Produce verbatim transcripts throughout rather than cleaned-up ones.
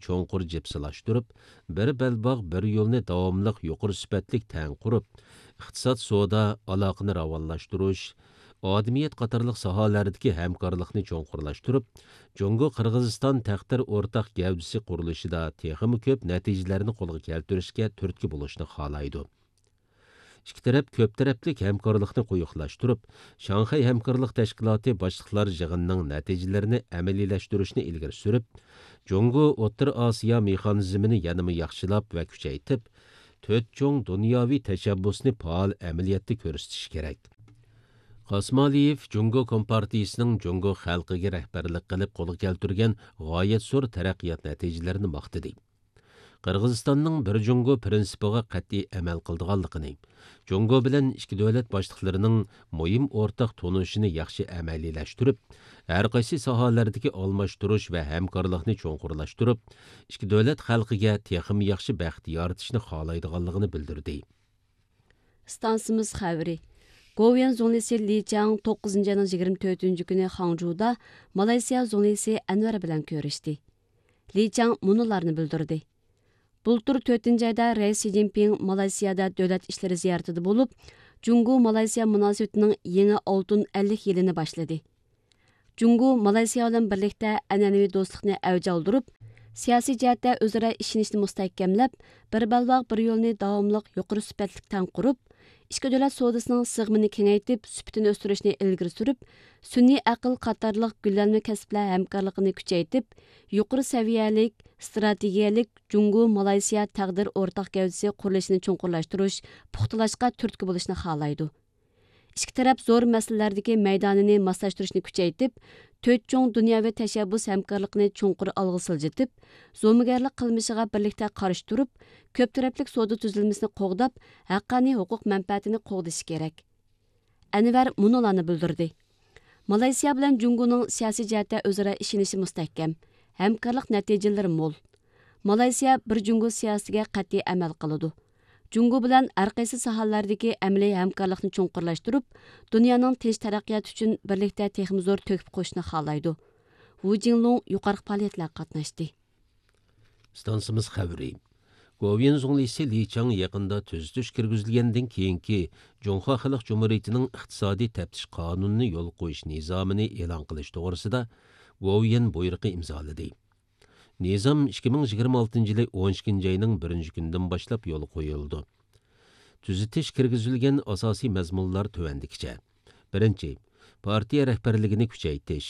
چوڭقۇر جىپسىلاشتۇرۇپ، بىر بەلباغ، بىر يولنى داۋاملىق يۇقىرى سۈپەتلىك تەڭ قۇرۇپ، ئىقتىساد، سودا ئالاقىنى راۋانلاشتۇرۇش، ئادىمىيەت قاتارلىق ساھەلەردىكى ھەمكارلىقنى چوڭقۇرلاشتۇرۇپ، جۇڭگو قىرغىزىستان تەقدىر ئورتاق گەۋدىسى قۇرۇلۇشىدا تېخىمۇ كۆپ نەتىجىلەرنى قولغا كەلتۈرۈشكە تۈرتكە بولۇشنى خالايدۇ. ئىككى تەرەپ كۆپ تەرەپلىك ھەمكارلىقنى قويۇقلاشتۇرۇپ، شاڭخەي ھەمكارلىق تەشكىلاتى باشلىقلار يىغىنىنىڭ نەتىجىلىرىنى ئەمەلىيلەشتۈرۈشنى ئىلگىرى سۈرۈپ، جۇڭگو ئوتتۇرا ئاسىيا مېخانىزمىنى يەنىمۇ ياخشىلاپ ۋە كۈچەيتىپ، تۆت چوڭ دۇنياۋى تەشەببۇسنى پائال ئەمەلىيەتتە كۆرسىتىشى كېرەك. قاسىمئالىيېف جۇڭگو كومپارتىيىسىنىڭ جۇڭگو خەلقىگە رەھبەرلىك قىلىپ قولغا كەلتۈرگەن غايەت زور تەرەققىيات نەتىجىلىرىنى ماختىدى. قىرغىزىستاننىڭ بىر جۇڭگو پىرىنسىپىغا قەتئىي ئەمەل قىلىدىغانلىقىنى، جۇڭگو بىلەن ئىككى دۆلەت باشلىقلىرىنىڭ مۇھىم ئورتاق تونۇشىنى ياخشى ئەمەلىيلەشتۈرۈپ، ھەر قايسى ساھەلەردىكى ئالماشتۇرۇش ۋە ھەمكارلىقنى چوڭقۇرلاشتۇرۇپ، ئىككى دۆلەت خەلقىگە تېخىمۇ ياخشى بەخت يارىتىشنى خالايدىغانلىقىنى بىلدۈردى. ئىستانسىمىز خەۋىرى. گوۋۇيۈەن زۇڭلىسى لى چاڭ توققۇزىنچى ئاينىڭ يىگىرمە تۆتىنچى كۈنى خاڭجۇدا مالايسىيا زۇڭلىسى ئەنۋەر بىلەن كۆرۈشتى. لى چاڭ مۇنۇلارنى بىلدۈردى. بۇلتۇر تۆتىنچى ئايدا رەئىس شى جىنپىڭ مالايسىيادا دۆلەت ئىشلىرى زىيارىتىدە بولۇپ، جۇڭگو مالايسىيا مۇناسىۋىتىنىڭ يېڭى ئالتۇن ئەللىك يىلىنى باشلىدى. جۇڭگو مالايسىيا بىلەن بىرلىكتە ئەنئەنىۋى دوستلۇقنى ئەۋج ئالدۇرۇپ، سىياسىي جەھەتتە ئۆزئارا ئىشىنىشنى مۇستەھكەملەپ، بىر بەلباغ، بىر يولنى داۋاملىق يۇقىرى سۈپەتلىك تەڭ قۇرۇپ، ئىككى دۆلەت سودىسىنىڭ سىغىمىنى كېڭەيتىپ، سۈپىتىنى ئۆستۈرۈشنى ئىلگىرى سۈرۈپ، سۈنئىي ئەقىل قاتارلىق گۈللەنمە كەسىپلەر ھەمكارلىقىنى كۈچەيتىپ، يۇقىرى سەۋىيەلىك، ئىستراتېگىيەلىك جۇڭگو مالايسىيا تەقدىر ئورتاق گەۋدىسى قۇرۇلۇشىنى چوڭقۇرلاشتۇرۇش، پۇختىلاشقا تۈرتكە بولۇشنى خالايدۇ. ئىككى تەرەپ زور مەسىلىلەردىكى مەيدانىنى ماسلاشتۇرۇشنى كۈچەيتىپ، تۆت چوڭ دۇنياۋى تەشەببۇس ھەمكارلىقىنى چوڭقۇر ئالغا سىلجىتىپ، زومىگەرلىك قىلمىشىغا بىرلىكتە قارشى تۇرۇپ، كۆپ تەرەپلىك سودا تۈزۈلمىسىنى قوغداپ، ھەققانىي ھوقۇق مەنپەئەتىنى قوغدىشى كېرەك. ئەنۋەر مۇنۇلارنى بىلدۈردى. مالايسىيا بىلەن جۇڭگونىڭ سىياسىي جەھەتتە ئۆزئارا ئىشىنىشى مۇستەھكەم، ھەمكارلىق نەتىجىلىرى مول. مالايسىيا بىر جۇڭگو سىياسىتىگە قەتئىي ئەمەل قىلىدۇ. جۇڭگو بىلەن ھەر قايسى ساھەلەردىكى ئەمەلىي ھەمكارلىقنى چوڭقۇرلاشتۇرۇپ، دۇنيانىڭ تىنچ تەرەققىياتى ئۈچۈن بىرلىكتە تېخىمۇ زور تۆھپە قوشۇشنى خالايدۇ. ۋۇ جىڭلۇڭ يۇقىرىقى پائالىيەتلەرگە قاتناشتى. ئىستانسىمىز خەۋىرى. گوۋۇيۈەن زۇڭلىسى لى چاڭ يېقىندا تۈزىتىش كىرگۈزۈلگەندىن كېيىنكى جۇڭخۇا خەلق جۇمھۇرىيىتىنىڭ ئىقتىسادىي تەپتىش قانۇنىنى يولغا قويۇش نىزامىنى ئېلان قىلىش توغرىسىدا گوۋۇيۈەن بۇيرۇقى ئىمزالىدى. نىزام ئىككى مىڭ يىگىرمە ئالتىنچى يىلى ئون ئىككىنچى ئاينىڭ بىرىنچى كۈنىدىن باشلاپ يولغا قويۇلىدۇ. تۈزىتىش كىرگۈزۈلگەن ئاساسىي مەزمۇنلار تۆۋەندىكىچە. بىرىنچى، پارتىيە رەھبەرلىكىنى كۈچەيتىش.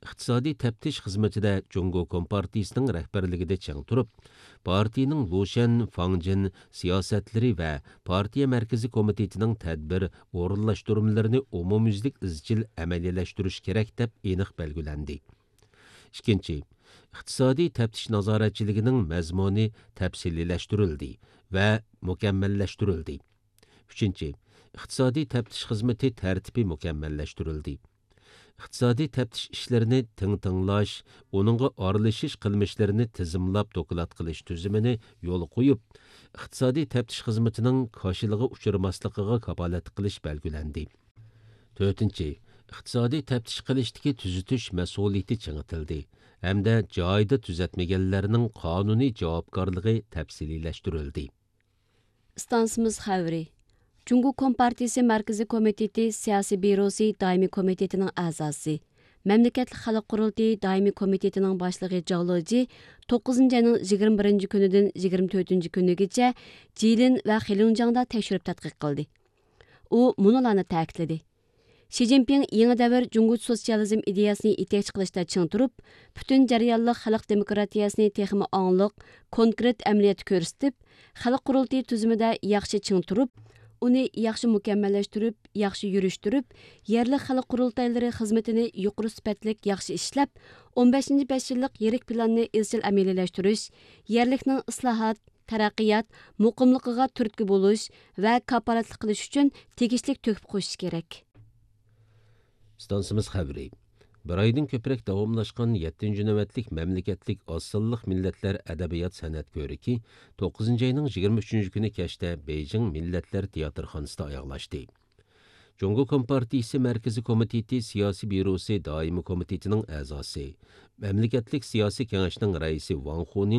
ئىقتىسادىي تەپتىش خىزمىتىدە جۇڭگو كومپارتىيىسىنىڭ رەھبەرلىكىدە چىڭ تۇرۇپ، پارتىيىنىڭ لۇشەن، فاڭجېن سىياسەتلىرى ۋە پارتىيە مەركىزىي كومىتېتىنىڭ تەدبىر ئورۇنلاشتۇرمىلىرىنى ئومۇميۈزلۈك ئىزچىل ئەمەلىيلەشتۈرۈش كېرەك، دەپ ئېنىق بەلگىلەندى. ئىككىنچى، ئىقتىسادىي تەپتىش نازارەتچىلىكىنىڭ مەزمۇنى تەپسىلىيلەشتۈرۈلدى ۋە مۇكەممەللەشتۈرۈلدى. ئۈچىنچى، ئىقتىسادىي تەپتىش خىزمىتى تەرتىپى مۇكەممەللەشتۈرۈلدى. ئىقتىسادىي تەپتىش ئىشلىرىنى تىڭ تىڭلاش، ئۇنىڭغا ئارىلىشىش قىلمىشلىرىنى تىزىملاپ دوكلات قىلىش تۈزۈمىنى يولغا قويۇپ، ئىقتىسادىي تەپتىش خىزمىتىنىڭ كاشىلىغا ئۇچرىماسلىقىغا كاپالەتلىك قىلىش بەلگىلەندى. تۆتىنچى، ئىقتىسادىي تەپتىش قىلىشتىكى تۈزىتىش مەسئۇلىيىتى چىڭىتىلدى ھەمدە جايىدا تۈزەتمىگەنلەرنىڭ قانۇنىي جاۋابكارلىقى تەپسىلىيلەشتۈرۈلدى. ئىستانسىمىز خەۋىرى. جۇڭگو كومپارتىيىسى مەركىزىي كومىتېتى سىياسىي بيۇروسى دائىمىي كومىتېتىنىڭ ئەزاسى، مەملىكەتلىك خەلق قۇرۇلتىيى دائىمىي كومىتېتىنىڭ باشلىقى جاۋ لېجى توققۇزىنچى ئاينىڭ يىگىرمە بىرىنچى كۈنىدىن يىگىرمە تۆتىنچى كۈنىگىچە جىلىن ۋە خېلۇنجياڭدا تەكشۈرۈپ تەتقىق قىلدى. ئۇ مۇنۇلارنى تەكىتلىدى. شى جىنپىڭ يېڭى دەۋر جۇڭگو سوتسىيالىزم ئىدىيەسىنى يېتەكچى قىلىشتا چىڭ تۇرۇپ، پۈتۈن جەريانلىق خەلق دېموكراتىيەسىنى تېخىمۇ ئاڭلىق، كونكرېت ئەمەلىيەتتە كۆرسىتىپ، خەلق قۇرۇلتىيى تۈزۈمىدە ياخشى چىڭ تۇرۇپ، ئۇنى ياخشى مۇكەممەللەشتۈرۈپ، ياخشى يۈرۈشتۈرۈپ، يەرلىك خەلق قۇرۇلتايلىرى خىزمىتىنى يۇقىرى سۈپەتلىك ياخشى ئىشلەپ، ئون بەشىنچى بەش يىللىق يىرىك پىلاننى ئىزچىل ئەمەلىيلەشتۈرۈش، يەرلىكنىڭ ئىسلاھات، تەرەققىيات، مۇقىملىقىغا تۈرتكە بولۇش ۋە كاپالەتلىك قىلىش ئۈچۈن تېگىشلىك تۆھپە قوشۇش كېرەك. ئىستانسىمىز خەۋىرى. بىر ئايدىن كۆپرەك داۋاملاشقان يەتتىنچى نۆۋەتلىك مەملىكەتلىك ئاز سانلىق مىللەتلەر ئەدەبىيات سەنئەت كۆرىكى توققۇزىنچى ئاينىڭ يىگىرمە ئۈچىنچى كۈنى كەچتە بېيجىڭ مىللەتلەر تىياتىرخانىسىدا ئاياغلاشتى. جۇڭگو كومپارتىيىسى مەركىزىي كومىتېتى سىياسىي بيۇروسى دائىمىي كومىتېتىنىڭ ئەزاسى، مەملىكەتلىك سىياسىي كېڭەشنىڭ رەئىسى ۋاڭ خۇنىڭ